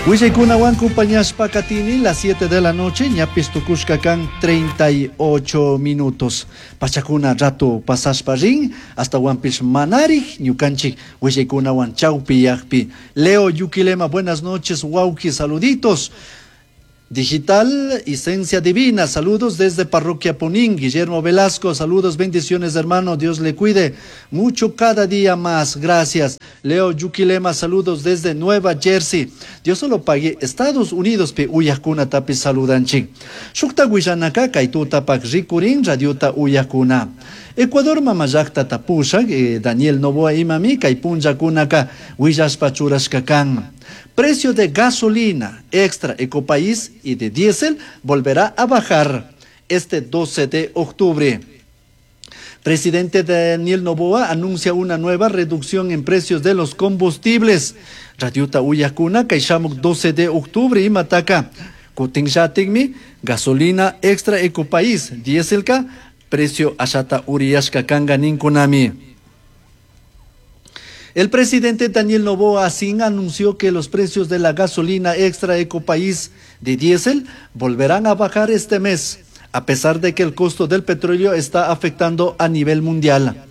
Willaykunawan compañashpa katini las 7 de la noche, ñapis tukushka kan 38 minutos. Pachakuna rato pasashpa rin, hasta manarik ñukanchik willaykunawan chawpi yakpi. Leo Yuquilema, buenas noches, wawki, saluditos. Digital Esencia Divina, saludos desde Parroquia Punín. Guillermo Velasco, saludos, bendiciones hermano, Dios le cuide mucho cada día más, gracias. Leo Yuquilema, saludos desde Nueva Jersey. Dios solo pague Estados Unidos pi uyakuna tapi saludanchik. Shukta willanaka kay tutapak rikurin radiota uyakuna. Ecuador mamallakta tapushak Daniel Noboa imami kay punllakunaka willashpa churashka kan. Precio de gasolina extra Ecopaís y de diésel volverá a bajar este 12 de octubre. Presidente Daniel Noboa anuncia una nueva reducción en precios de los combustibles. Radiota uyakuna kay shamuk 12 de octubre imataka. Kutinllatikmi gasolina extra Ecopaís dieselka precio ashata uriyashka kanga ninkunami. El presidente Daniel Noboa Azín anunció que los precios de la gasolina extra Ecopaís de diésel volverán a bajar este mes, a pesar de que el costo del petróleo está afectando a nivel mundial.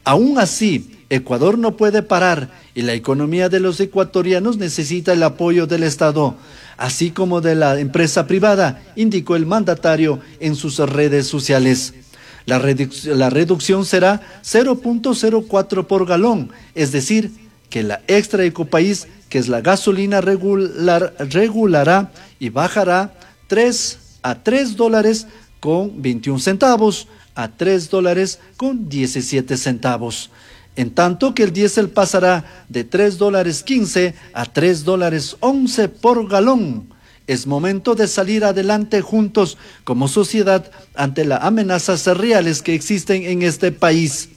Aún así, Ecuador no puede parar y la economía de los ecuatorianos necesita el apoyo del Estado, así como de la empresa privada, indicó el mandatario en sus redes sociales. La reducción será 0.04 por galón, es decir, que la extra Ecopaís, que es la gasolina regular, regulará y bajará 3 a 3 dólares con 21 centavos a 3 dólares con 17 centavos. En tanto que el diésel pasará de 3 dólares 15 a 3 dólares 11 por galón. Es momento de salir adelante juntos como sociedad ante las amenazas reales que existen en este país.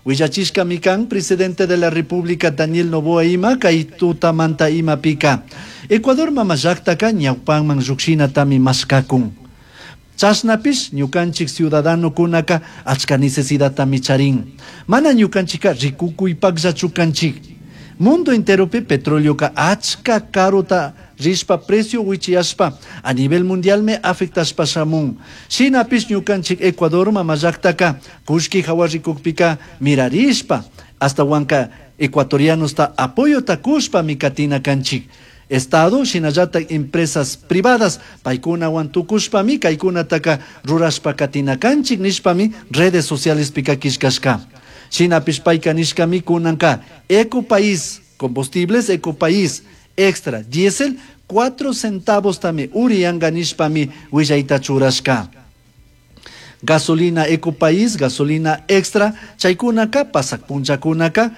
Willachishka mikan, presidente de la República Daniel Noboa ima, kay tutamanta imapika. Ecuador mamallaktaka ñawpanman llukshinatami mashkakun. Chashnapish ñukanchik ciudadanokunaka achka necesidadtami charin. Mana ñukanchika rikukuypakllachu kanchik. Mundo enteropi petroleoka achka karuta rishpa precio wichiyashpa a nivel mundial me afectashpa shamun. Shinapish ñukanchik Ecuador mamallaktaka kullki hawa rikukpika mirarishpa hasta wanka ecuatorianosta apoyota kushpami katina kanchik. Estado shinallatak empresas privadas paykunawan tukushpami kaykunataka rurashpa katina kanchik nishpami redes socialespika killkashka. Shinapish payka nishkami kunanka Ecopaís, combustibles Ecopaís, extra diésel 4 centavos tami uriyanka nishpami willayta churashka. Gasolina Ecopaís, gasolina extra, chaykunaka pasak punllakunaka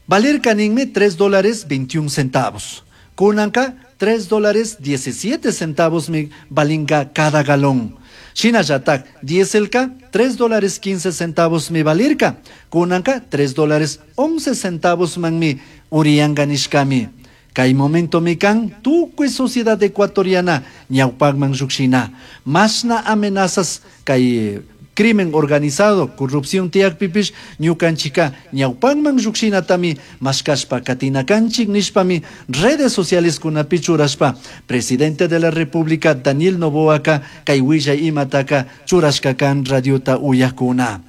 valirka ninmi 3 dólares 21 centavos. Kunanka 3 dólares 17 centavos mi valinga cada galón. Shinallatak dieselka 3 dólares 15 centavos mi valirka. Kunanka 3 dólares 11 centavos manmi uriyanga nishkami. Kay momento mi kan tukuy sociedad ecuatoriana ñawpakman llukshina. Mashna amenazas kay crimen organizado, corrupción tiyakpipish ñukanchika ñawpanman llukshinatami mashkashpa katina kanchik nishpami redes sociales kunapi churashpa presidente de la República Daniel Noboaka kay willay imataka churashka kan radiota uyakuna.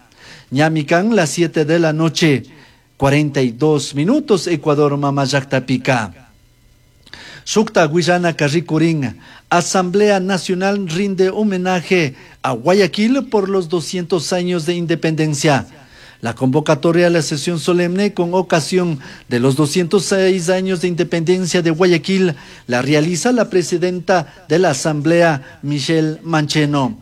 Ñami kan las 7 de la noche 42 minutos Ecuador mamallaktapika. Shukta willana rikurin. Asamblea Nacional rinde homenaje a Guayaquil por los 200 años de independencia. La convocatoria a la sesión solemne con ocasión de los 206 años de independencia de Guayaquil la realiza la presidenta de la Asamblea, Michelle Mancheno.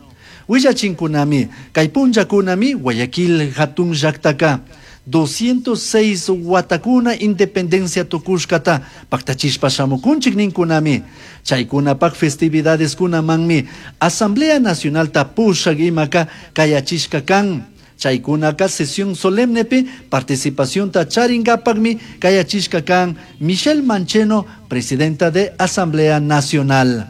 Willachinkunami, kay punllakunami, Guayaquil hatun llaktaka. 206 watakuna independencia tukushkata paktachishpa shamukunchik ninkunami. Chaykunapak festividades kunamanmi Asamblea Nacional pushak imaka kayachishka kan. Chaykunaka sesión solemnepi participación ta charingapakmi kayachishka kan Michelle Mancheno, presidenta de Asamblea Nacional.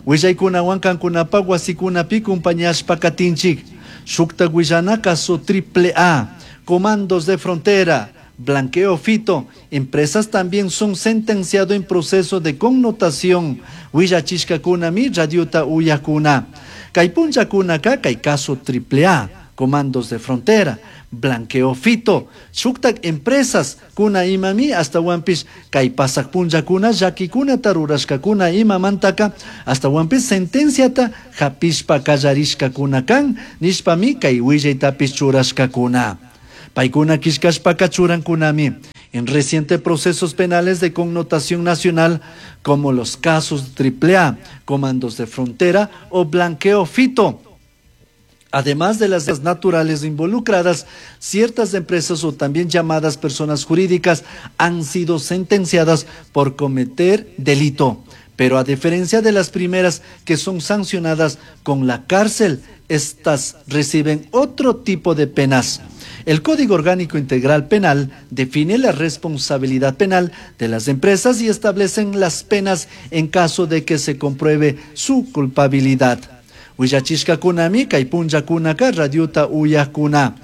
Willaykunawan kankunapak wasikunapi kumpañashpa katinchik. Shukta willana caso triple A. Comandos de frontera. Blanqueo Fito, empresas también son sentenciado en proceso de connotación. Willachishkakunami radiota uyakuna. Kay punllakunaka kay caso triple A, comandos de frontera, blanqueo fito, shuktak empresas kuna imami astawanpish kay pasak punllakuna llakikunata rurashkakuna imamantaka astawanpish sentenciata hapishpa kallarishkakuna kan nishpami kay willaytapish churashkakuna. Paykuna killkashpaka churankunami en recientes procesos penales de connotación nacional como los casos triple A, comandos de frontera o blanqueo fito. Además de las naturales involucradas, ciertas empresas o también llamadas personas jurídicas han sido sentenciadas por cometer delito. Pero a diferencia de las primeras que son sancionadas con la cárcel, estas reciben otro tipo de penas. El Código Orgánico Integral Penal define la responsabilidad penal de las empresas y establecen las penas en caso de que se compruebe su culpabilidad. Willachishkakunami kay punllakunaka radiota uyakuna.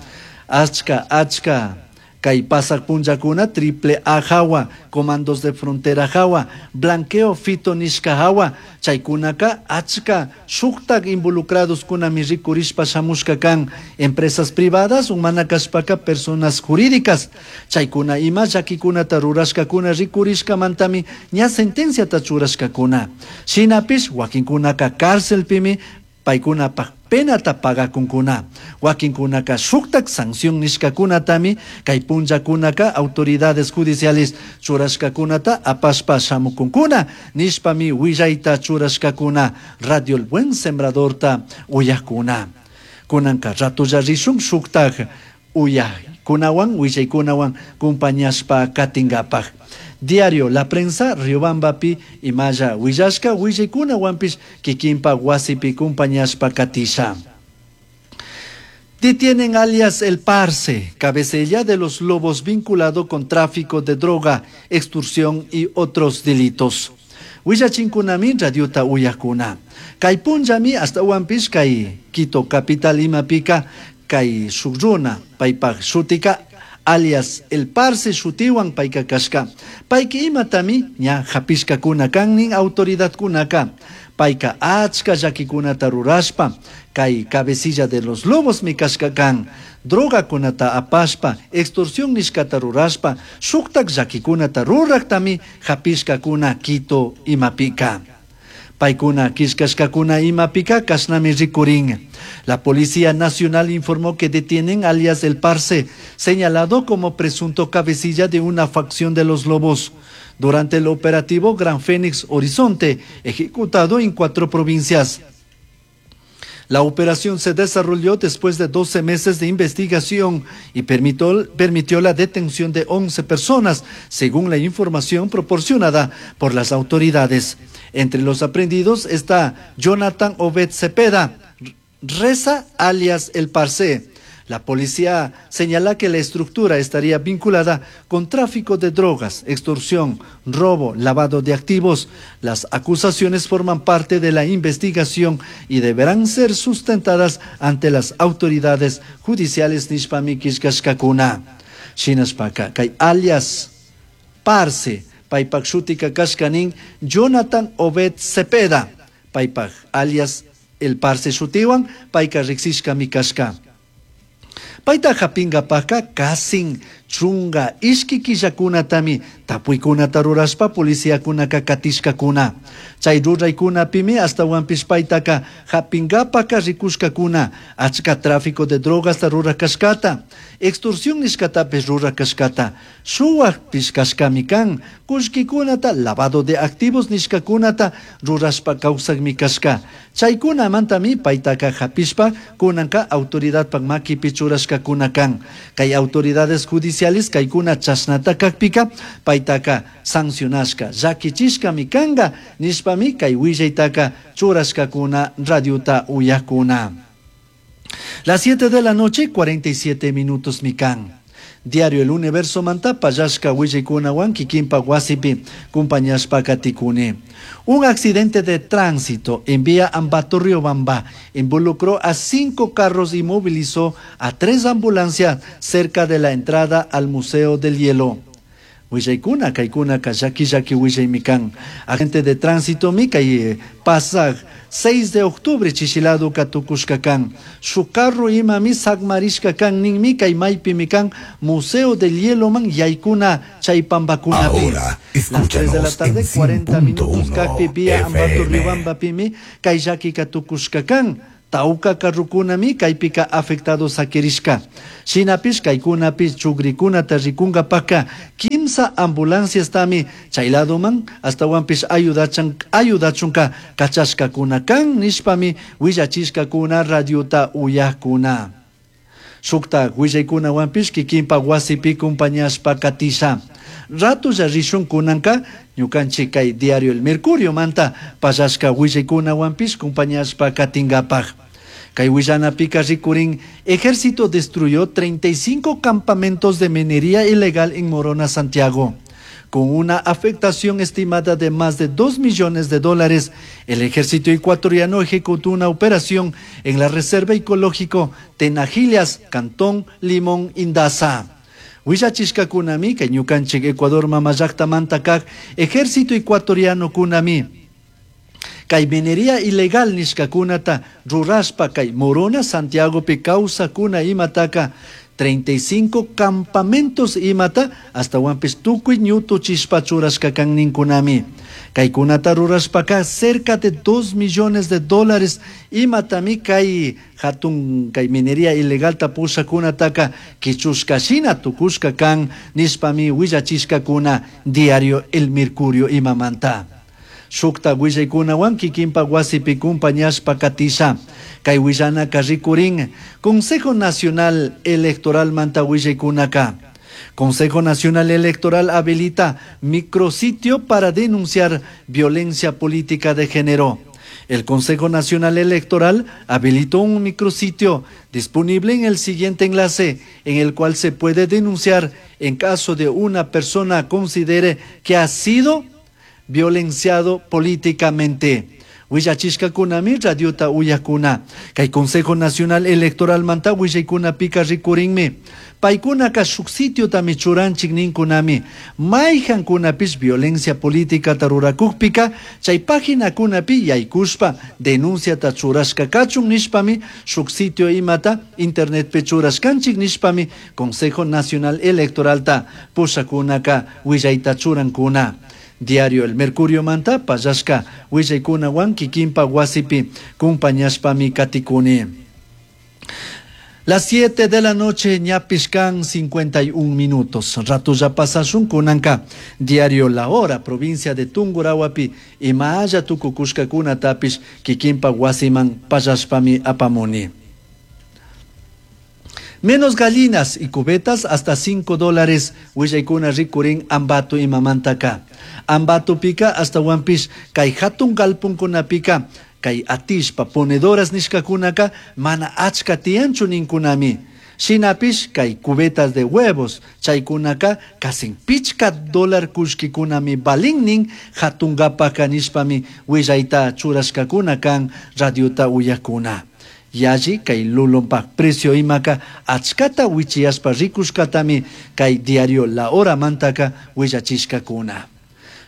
Achka, achka. Kay pasak punllakuna triple A hawa, comandos de frontera hawa, blanqueo fito nishka hawa, chaykunaka achka shuktak involucrados kunami rikurishpa shamushka kan empresas privadas, umana kashpaka personas jurídicas, chaykuna ima llakikunata rurashkakuna rikurishkamantami ña sentenciata churashkakuna. Shinapish wakinkunaka cárcelpimi paykunapaj penata pagakunkuna. Wakinkunaka shuktak sanción nishkakunatami kay punllakunaka autoridades judiciales churashkakunata apashpa shamukunkuna nishpami willayta churashkakuna Radio El Buen Sembradorta uyakuna. Kunanka ratulla rishun shuktak uyakkunawan willaykunawan kumpañashpa katingapaj. Diario La Prensa, Riobambapi, imalla willashka willaykunawanpish kikinpa wasipi kumpañashpa katisha. Detienen alias El Parce, cabecilla de los lobos vinculado con tráfico de droga, extorsión y otros delitos. Willachinkunami radiota uyakuna. Kay punllami astawanpish kay Quito capital imapika kay shuk runa paypaj shutika alias El Parce shutiwan payka kashka. Payka imatami ña hapishkakuna kan nin autoridadkunaka. Payka achka llakikunata rurashpa kay cabecilla de los lobos mi kashka kan. Drogakunata apashpa, extorsión nishkata rurashpa, shuktak llakikunata ruraktami hapishkakuna Quito imapika. Paykuna killkashkakuna imapika kashnami rikurin. La Policía Nacional informó que detienen alias El Parce, señalado como presunto cabecilla de una facción de los lobos. Durante el operativo Gran Fénix Horizonte, ejecutado en 4 provincias. La operación se desarrolló después de 12 meses de investigación y permitió la detención de 11 personas, según la información proporcionada por las autoridades. Entre los aprehendidos está Jonathan Obed Cepeda, Reza alias El Parce. La policía señala que la estructura estaría vinculada con tráfico de drogas, extorsión, robo, lavado de activos. Las acusaciones forman parte de la investigación y deberán ser sustentadas ante las autoridades judiciales nishpami killkashkakuna. Shinashpaka kay alias Parce, paypak shutika kashkanin Jonathan Obed Cepeda, paypak alias El Parce shutiwan, payka riksishkami kashka. Payta hapingapajka kasin chunga ishki killakunatami tapuykunata rurashpa policiakunaka katishkakuna. Chay ruraykunapimi astawanpish paytaka hapingapaka rikushkakuna achka tráfico de drogasta rurakashkata, extorsión nishkatapish rurakashkata, shuwakpish kashkami kan, kullkikunata lavado de activos nishkakunata rurashpa kawsakmi kashka. Chaykunamantami paytaka hapishpa kunanka autoridadpak makipi churashkakuna kan. Kay autoridades judiciales kaykuna chashnata kakpika paytaka sancionashka llakichishkami kanka nishpami kay willaytaka churashkakuna radiota uyakuna. Las 7 de la noche, 47 minutos mikan. Diario El Universo manta pallashka willaykunawan kikinpak wasipi kumpañashpa katikuni. Un accidente de tránsito en vía Ambato Riobamba involucró a 5 carros y movilizó a 3 ambulancias cerca de la entrada al Museo del Hielo. Willaykuna kaykunaka llaki llaki willaymi kan. Agente de tránsito mi kay pasaj 6 de octubre chishilado tukushka kan. Su carro imami sakmarishka kan ninmi kay maypimi kan Museo del Hielo man yaykuna chay pambakunapi. Ahora, Las 3 de la escúchanos tarde, en 40 minutos 100.1 kakpi vía Ambato FM. Riobamba pimi kay llakika tukushka kan. Tauka karrukunami kaypika afectado sakirishka. Shinapish kaykunapish chugrikunata rikunkapaka kimsa ambulancias tami chay ladoman astawanpish ayudachunka kachashkakuna kan nishpami willachishkakuna radiota uyakuna. Shukta willaykunawanpish kikinpa wasipi kumpañashpa katisha. Ratulla rishun kunanka ñukanchik kay diario El Mercurio manta pallashka willaykunawanpish kumpañashpa katingapaj. Kay willanapika rikurin, ejército destruyó 35 campamentos de minería ilegal en Morona, Santiago. Con una afectación estimada de más de 2 millones de dólares, el ejército ecuatoriano ejecutó una operación en la Reserva Ecológico Tenajillas, Cantón Limón, Indaza. Willachishka kunami, kay ñukanchik Ecuador mamallakta mantakak, ejército ecuatoriano kunami. Kay minería ilegal nishkakunata rurashpa kay Morona, Santiago pi kawsakuna imataka 35 campamentos imata hasta wampis tukuy ñutu chishpa churashka kan ninkunami. Kaykunata rurashpaka cerca de 2 millones de dólares imatami kay hatun kay minería ilegal tapushakunataka kichushka shina tukushka kan nishpami willachishkakuna diario El Mercurio imamanta. Shukta willaykunawan kikinpa wasipi kumpañashpa katisha. Kay willanaka rikurin Consejo Nacional Electoral manta willaykunaka. Consejo Nacional Electoral habilita micrositio para denunciar violencia política de género. El Consejo Nacional Electoral habilitó un micrositio disponible en el siguiente enlace, en el cual se puede denunciar en caso de una persona considere que ha sido violenciado políticamente. Willachishka kunami radiota uyakuna. Kay Consejo Nacional Electoral manta willaykuna pika rikurinmi. Paykunaka shuk sitiotami churanchik ninkunami. Mayhankunapish violencia política tarurakukpika, chay paginakunapi yaykushpa denunciata churashka kachun nishpami, shuk sitio imata internetpi churashkanchik nishpami, Consejo Nacional Electoralta pushakunaka willayta churankuna. Diario El Mercurio manta pallashka willaykunawan kikinpa wasipi kumpañashpami katikuni. Las 7 de la noche, ñapishkan 51 minutos. Rato ya pasashun kunanka. Diario La Hora, provincia de Tungurahuapi, imaya tukukushkakuna tapish kikinpa wasiman pallashpami apamuni. Menos gallinas y cubetas hasta cinco dólares. Willaykuna rikurin Ambato imamantaka. Ambato pika hasta Huampish, kay hatun galpunkunapika, kay atishpa ponedoras nishkakunaka, mana achka tiyanchu ninkunami. Shinapish kay cubetas de huevos, chaykunaka casi pichka dólar kushkikunami balinnin hatungapaka nishpami willayta churashkakuna kan radiota uyakuna. Yalli kay lulunpak precio imaka achkata wichiyashpa rikushkatami kay diario La Hora mantaka willachishkakuna.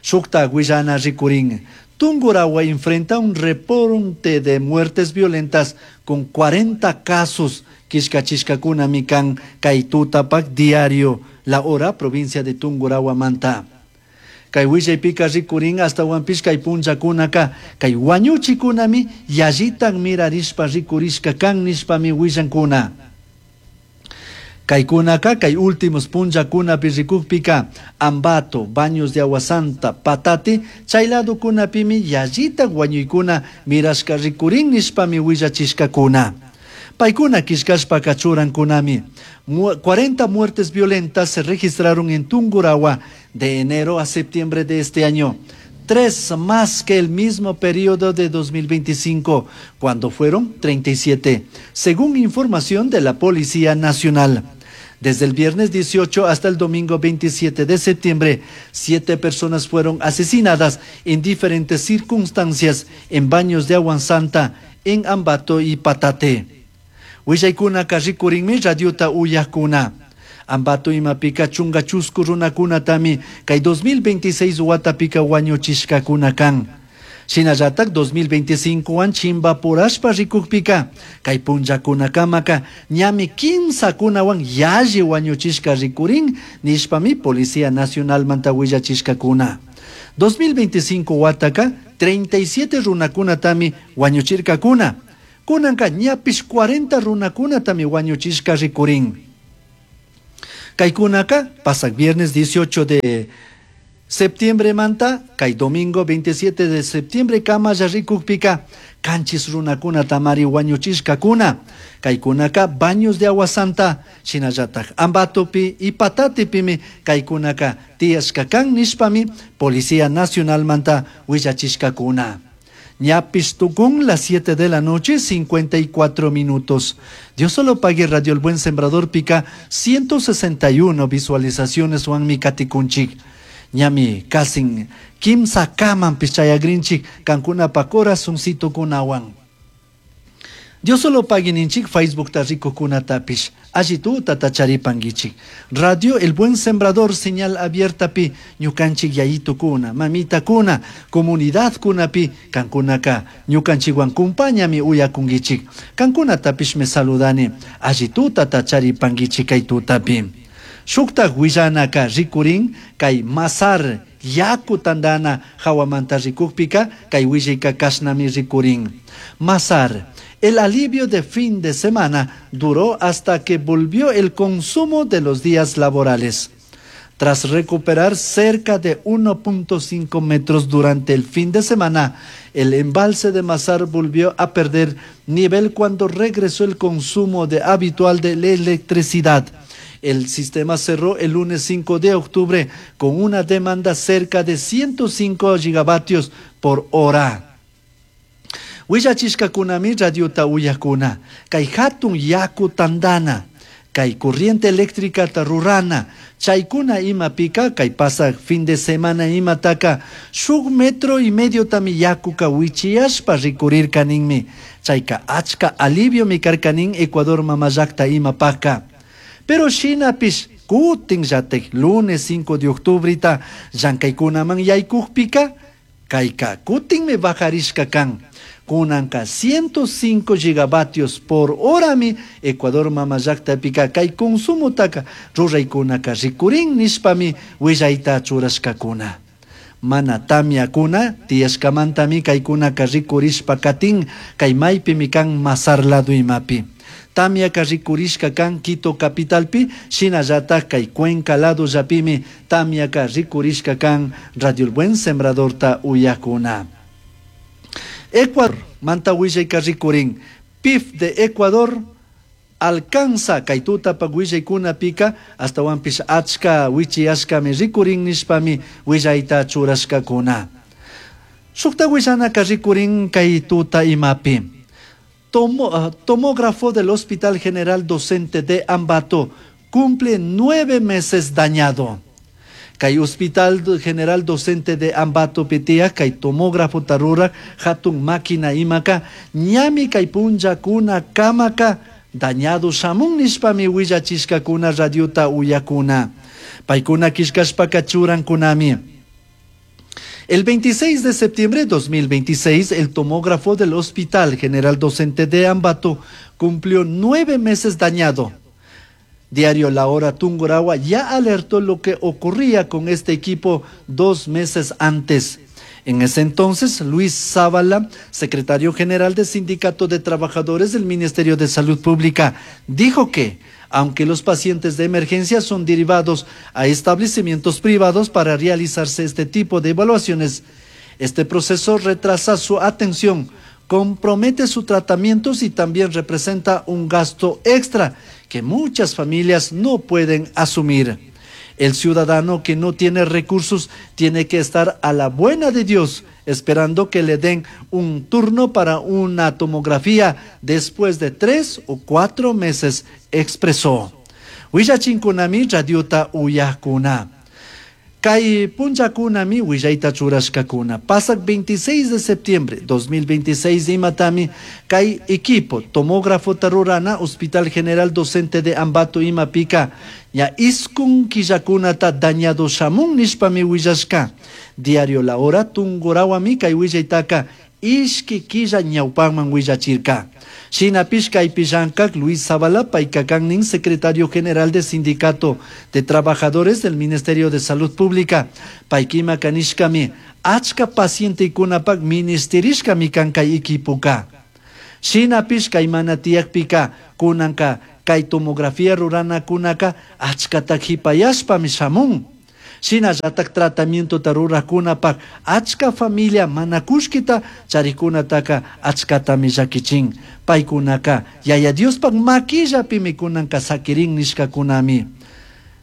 Shukta willana rikurin. Tungurahua enfrenta un repunte de muertes violentas con 40 casos. Kishkachishkakuna kan kay tutapak diario La Hora, provincia de Tungurahua manta. Kay willaypika rikurin hasta huampish kay punllakunaka kay wañuchikunami yallitan mirarishpa rikurishka kan nishpami willankuna. Kaykunaka kay últimos punllakunapi rikukpika Ambato, Baños de Agua Santa, Patate, chay ladokunapimi yallitan wañuykuna mirashka rikurin nishpami willachishkakuna. Paykuna kishkashpaka churankunami. 40 muertes violentas se registraron en Tungurahua de enero a septiembre de este año. 3 más que el mismo periodo de 2025, cuando fueron 37, según información de la Policía Nacional. Desde el viernes 18 hasta el domingo 27 de septiembre, 7 personas fueron asesinadas en diferentes circunstancias en Baños de Agua Santa, en Ambato y Patate. Willaykunaka rikurinmi radiota uyajkuna. Ambato imapika chunga chusku runakunatami kay 2026 watapika wañuchishkakuna kan. Shinallatak 2025 wan chimbapurashpa rikukpika kay punllakunakamaka ñami kimsakunawan yalli wañuchishka rikurin nishpami Policía Nacionalmanta willachishkakuna. 2025 wataka 37 runakunatami wañuchirkakuna. Kunanka ñapish 40 runakunatami wañuchishka rikurin. Kaykunaka pasak viernes 18 de septiembre manta, kay domingo 27 de septiembre kamalla rikukpika kanchis runakuna tamari wañuchishkakuna. Kaykunaka Baños de Agua Santa, shinallatak Ambatopi y Patatepimi kaykunaka tiyashka kan nishpami Policía Nacional manta willachishkakuna. Ñapis tukun las 7 de la noche, 54 minutos. Dios solo pague Radio El Buen Sembrador pica 161 visualizaciones wanmi katikunchik. Ñami kasin kimsa kaman pichayagrinchik kankunapa corazoncito kunawan. Dios solo pague ninchik Facebook ta rikukunatapish. Alli tuta tacharipanguichik. Radio El Buen Sembrador señal abierta pi ñukanchik yayito kuna, mamita kuna, comunidad kuna pi kankunaka ñukanchikwan kumpañami uyakunguichik. Kankunatapish me saludani. Alli tuta tacharipanguichik kay tutapi. Shuktak willanaka rikurin kay masar yaku tandana hawamanta rikukpika kay willayka kashnami rikurin. Masar, el alivio de fin de semana duró hasta que volvió el consumo de los días laborales. Tras recuperar cerca de 1.5 metros durante el fin de semana, el embalse de Mazar volvió a perder nivel cuando regresó el consumo de habitual de la electricidad. El sistema cerró el lunes 5 de octubre con una demanda cerca de 105 gigavatios por hora. Willachishkakunami radiota uyakuna, kay hatun yaku tandana, kay corriente eléctrica rurana, chaykuna imapika, kay pasak fin de semana imataka, shuk metro y medio tami yakuka wichiyashpa rikurirka ninmi, chayka achka alivio mi karkanin Ecuador mamallakta imapaka. Pero shinapish kutin llatek lunes 5 de octubrita llankaykunaman yaykukpika, kayka kutinmi bajarishka kan. Kunanka 105 gigavatios por horami Ecuador mamallakta pika kay consumotaka ruraykunaka rikurin nishpami willayta churashkakuna. Mana tamyakuna tiyashkamantami kaykunaka rikurishpa katin kay maypimi kan Mazar lado imapi. Tamyaka rikurishka kan Quito capitalpi, shinallatak kay Cuenca lado llapimi tamyaka rikurishka kan Radio El Buen Sembradorta uyakuna. Ecuador, manta willayka rikurin, PIB de Ecuador alcanza kay tutapa willaykuna pika astawanpish achka wichiyashkami rikurin nishpami willayta churashkakuna. Shukta willanaka rikurin kay tuta imapi. Tomógrafo del Hospital General Docente de Ambato cumple 9 meses dañado. Kay Hospital General Docente de Ambato pitia, kay tomógrafo tarura, hatun máquina imaka, ñami kay punlla kuna kamaka, dañado shamun nishpami willachishkakuna radiota uyakuna. Paykuna kishkashpaka churankunami. El 26 de septiembre de 2026, el tomógrafo del Hospital General Docente de Ambato cumplió 9 meses dañado. Diario La Hora Tungurahua ya alertó lo que ocurría con este equipo 2 meses antes. En ese entonces, Luis Zavala, secretario general del Sindicato de Trabajadores del Ministerio de Salud Pública, dijo que, aunque los pacientes de emergencia son derivados a establecimientos privados para realizarse este tipo de evaluaciones, este proceso retrasa su atención, compromete sus tratamientos y también representa un gasto extra que muchas familias no pueden asumir. El ciudadano que no tiene recursos tiene que estar a la buena de Dios, esperando que le den un turno para una tomografía después de 3 o 4 meses, expresó. Willachinkunami radiota uyajkuna. Kay punllakunami willayta churashkakuna. Pasak 26 de septiembre 2026 imatami kay equipo tomógrafo rurana Hospital General Docente de Ambato imapika ña iskun killakunata dañado shamun nishpami willashka. Diario La Hora tungurawami kay willaytaka ishki killa ñawpanman willachirka. Shinapish kaypi llankak Luis Zavala payka kannin secretario general del Sindicato de Trabajadores del Ministerio de Salud Pública. Paykima kanishkami achka pacientekunapak ministerishkami kan kay equipoka. Shinapish kay mana tiyakpika kunanka kay tomografía ruranakunaka achkata hipayashpami shamun. Shinallatak tratamientota rurakunapak achka familia mana kullkita charikunataka achkatami llakichin. Paykunaka Yaya Diospak makillapimi kunanka sakirin nishkakunami.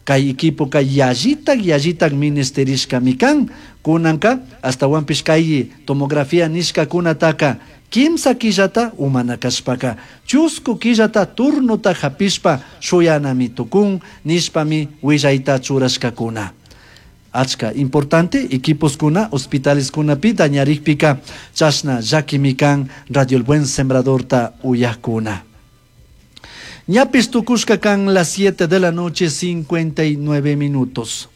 Kay equipoka yallitak yallitak ministerishkami kan. Kunanka astawanpish kay tomografía nishkakunataka kimsa killata umana kashpaka chusku killata turnota hapishpa shuyanami tukun nishpami willayta churashkakuna. Achka importante equipos kuna hospitales kunapi dañarikpika chashna llakimi kan Radio El Buen Sembradorta uyajkuna. Ñapis tukushka kan las 7 de la noche 59 minutos.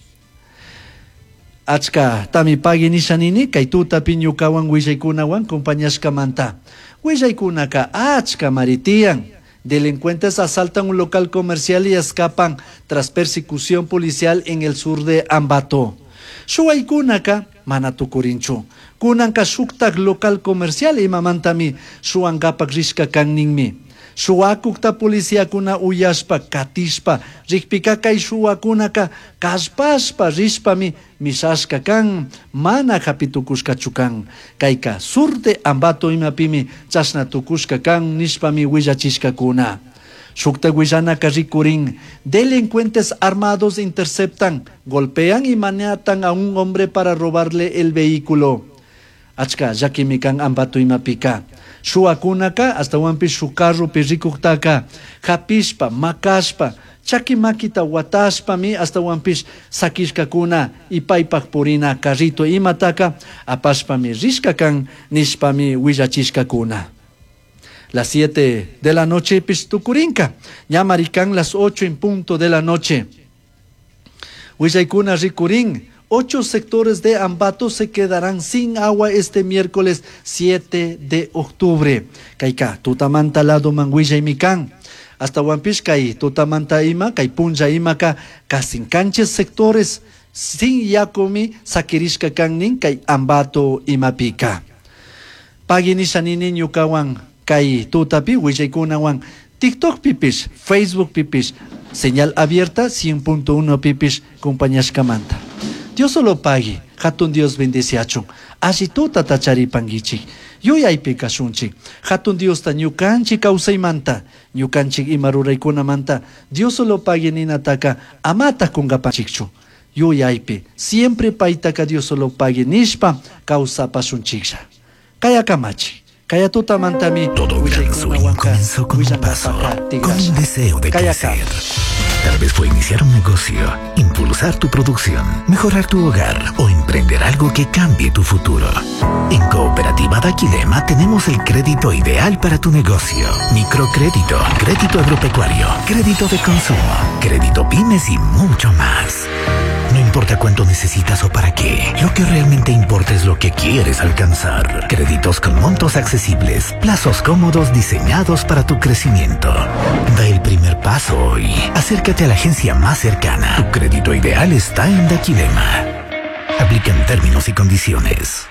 Achka tami pagui nishanini kay tutapi ñukawan willaykunawan compañashkamanta. Willaykunaka achka maritiyan. Delincuentes asaltan un local comercial y escapan tras persecución policial en el sur de Ambato. Shuwaykunaka mana tukurinchu. Kunanka shuktak local comercial imamantami shuwankapak rishka kanninmi. Shuwakukta policíakuna uyashpa katishpa rikpika kay shuwakunaka kallpashpa rishpami mishashka kan mana hapitukushkachu kan. Kayka sur de Ambato imapimi chashna tukushka kan nishpami willachishkakuna. Shukta willanaka rikurin, delincuentes armados interceptan, golpean y maniatan a un hombre para robarle el vehículo. Achka llakimi kan Ambato imapika. Shuwakunaka astawanpish shuk carropi rikuktaka hapishpa makashpa chaki makita watashpami astawanpish sakishkakuna y paypak purina carrito imataka apashpami rishka kan nishpami willachishkakuna. Las 7 de la noche pish tukurinka, ña marikan las 8 en punto de la noche. Willaykuna rikurin, 8 sectores de Ambato se quedarán sin agua este miércoles 7 de octubre. Kayka, tutamanta lado man willaymi kan. Hasta Huampish kay tutamanta ima, kay punlla imaka, casi canches sectores sin yakumi sakirishka kannin kay Ambato imapika. Pagui nishanini ñukawan kay tutapi willaykunawan TikTok pipish, Facebook pipish, señal abierta 100.1 pipish compañashkamanta. Dios solo pagui, hatun Dios bendeciachun. Alli tuta tacharipanguichik, yuyaypi kashunchik. Hatun Diosta ñukanchik kawsaymanta, ñukanchik ima ruraykunamanta, Dios solo pagui ninataka amata kungapanchikchu. Yuyaypi, siempre paytaka Dios solo pagui nishpa kawsapashunchiklla. Kaya kamachi. Kaya tutamantami Todo gran sueño comenzó con un paso, con un deseo de crecer. Tal vez fue iniciar un negocio, impulsar tu producción, mejorar tu hogar o emprender algo que cambie tu futuro. En Cooperativa Daquilema tenemos el crédito ideal para tu negocio. Microcrédito, crédito agropecuario, crédito de consumo, crédito pymes y mucho más. No importa cuánto necesitas o para qué, lo que realmente importa es lo que quieres alcanzar. Créditos con montos accesibles, plazos cómodos diseñados para tu crecimiento. Da el primer paso hoy. Acércate a la agencia más cercana. Tu crédito ideal está en Daquilema. Aplican términos y condiciones.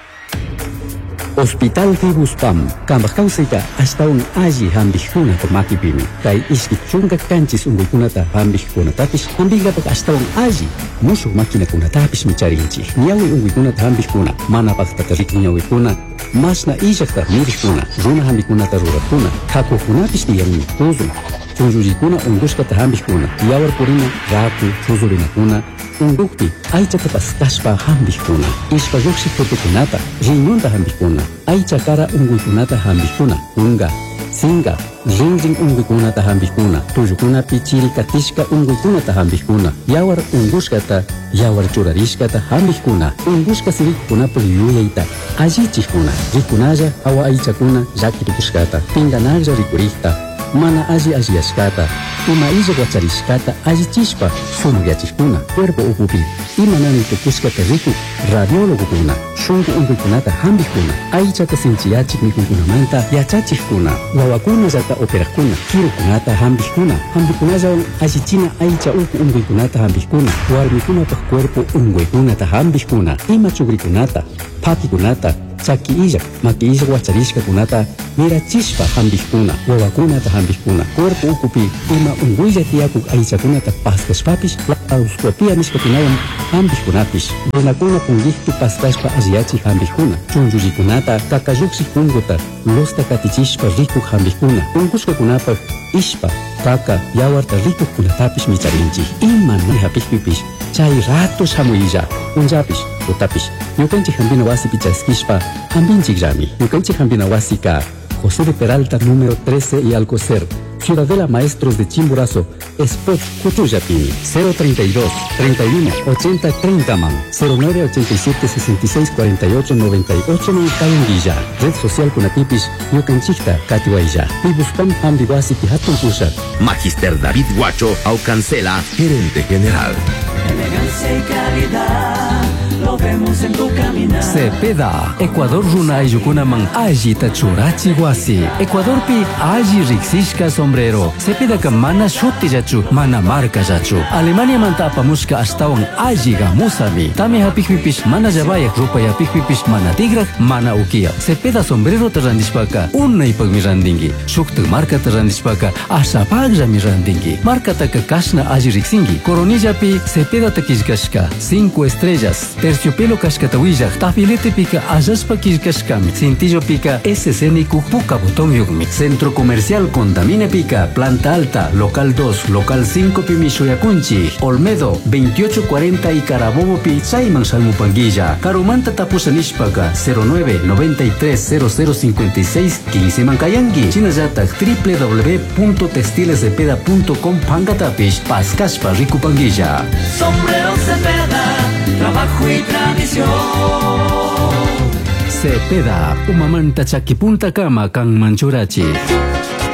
Hospital Tibuspam, kambaj kawsayta ashtawan alli hampikkunata makipimi. Kay ishki chunka kanchis unkuykunata hampikkunatapish hampinkapak ashtawan alli mushuk maquinakunatapishmi charinchik. Ñawi unkuykunata hampikkuna, mana paktata rikun ñawikuna, mashna illakta mirikkuna, runa hampikunata rurakkuna, hakukunapish tiyanmi tuzun. Chunllullikuna unkushkata hampikkuna, yawar purina, raku, chuzurinakuna, unkukpi aychata paskashpa hampikkuna, ishpa llukshiq tutukunata, riñonta hampikkuna, aycha kara unkuykunata hampikkuna, kunka, Singa, rinrin unquykunata hampikuna, tullukunapi chiri katishka unquykunata hampikuna, yawar unqushkata, yawar churarishkata hampikuna, unqushka sirikunapak yuyayta allichikuna, rikunalla hawa aychakuna llaki tukushkata, pinganalla rikurikta, mana alli alliyashkata, ima illa wacharishkata allichishpa sumakyachikuna, cuerpo ukupi ima nani tukushkata rikuk radiólogokuna, shunku unquykunata hampikuna, aychata sinchiyachik mikuykunamanta yachachikkuna, wawakunallata operakuna, kirukunata hampikuna, hampikunallawan allichina aycha uku unquykunata hampikuna, warmikunapak cuerpo unquykunata hampikuna, ima chukrikunata, phakikunata, chaki illak, maki illak wacharishkakunata mirachishpa hampikuna, wawakunata hampikuna, cuerpo ukupi ima unquylla tiyakuk aychakunata paskashpapish laparoscopia nishkakunawan hampikkunapish, runakuna punkikpi paskashpa alliyachik hampikuna, chunchullikunata kakallukshik punkuta lusta katichishpa rikuk hampikuna, unkushkakunapak ishpa, kaka, yawarta rikukkunatapish micharinchik, ima hapikpipish chay rato shamuylla, punllapish, tutapish, ñukanchik hampina wasipi chaskishpa hampinchikllami. Ñukanchik hampina wasika José de Peralta número 13 y Alcocer, Ciudadela Maestros de Chimborazo, Spot Cuchuyapini, 032 31 80 30 man, 09 87 66 48 98 man Kayunguilla, Red Social Kunatipis, Ñukanchikta Katiwaylla, Pibuspam Hambiwasipi Hatun Pushak. Magister David Guacho Aucancela, gerente general. Elegancia y calidad, lo vemos en tu caminar. Cepeda, Ecuador runa ayllukunaman allita churachi wasi. Ecuadorpi alli riksishka sombrero. Cepedaka mana shutillachu, mana markallachu. Alemaniamanta apamushka ashtawan alli gamusami. Tami hapikpipish mana llavayak, rupayapikpipish mana tigrak, mana ukiya. Cepeda sombrerota randishpaka unaypakmi randinki. Shuktak markata randishpaka ashapakllami randinki. Markataka kashna alli riksinki. Coronillapi Cepedata killkashka 5 estrellas. Terciopelo kashkata willak, tafiletepika allashpa killkashkami. Cintillopika SC nikuk puka botón yukmi. Centro Comercial Condamine Pica, Planta Alta, Local 2, Local 5 pimi Shuyakunchi, Olmedo, 2840 y Carabobo pi Chayman Salmupanguilla, Karumanta Tapusa nishpaka, 09 93 00 56 15 Mancayanqui, Chinallatak www.textilescepeda.com pankatapish, Paskashpa Rikupanguilla. Sombrero Cepeda, trabajo y tradición. Cepeda, umamanta chakipunta kama kan manchurachi.